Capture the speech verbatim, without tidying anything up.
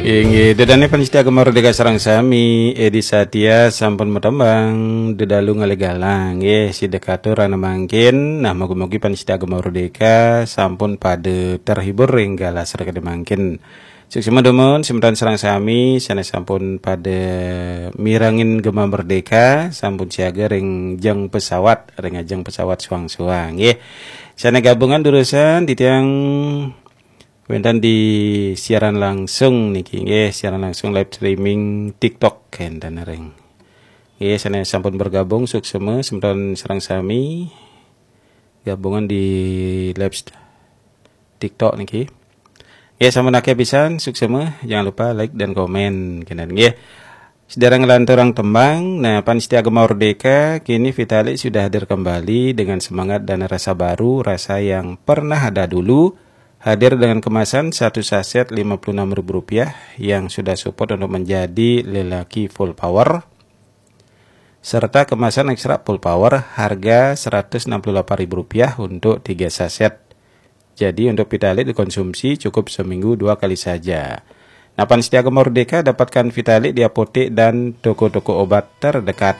Inggih, dedane panitia Gema Merdeka sareng sami, Edi Satya sampun matembang, dedalu ngalih galang, nggih, sida katur ana mangkin. Nah, mugi-mugi panitia Gema Merdeka sampun pada terhibur ring galah sida kadi mangkin. Suksma dumun, semeton sareng sami, sane sampun pada mirengin Gema Merdeka, sampun siaga ring jeng pesawat, ring ajeng pesawat suang-suang, nggih. Sane gabungan durusang, titiang wenten di siaran langsung niki, nggih, siaran langsung live streaming TikTok enten ring. Nggih, sane sampun bergabung, suksma, semeton sareng sami, gabungan di live st-, TikTok niki. Nggih, sampun akeh pisan, suksma, jangan lupa like dan komen, kenten, nggih. Sedereng nglanturang tembang, nah, panitia Gema Merdeka, kini Vitalik sudah hadir kembali dengan semangat dan rasa baru, rasa yang pernah ada dulu, hadir dengan kemasan satu saset lima puluh enam ribu rupiah yang sudah support untuk menjadi lelaki full power, serta kemasan ekstra full power harga seratus enam puluh delapan ribu rupiah untuk tiga saset. Jadi, untuk Vitalik dikonsumsi cukup seminggu dua kali saja. Nah, panitia Gema Merdeka, dapatkan Vitalik di apotek dan toko-toko obat terdekat.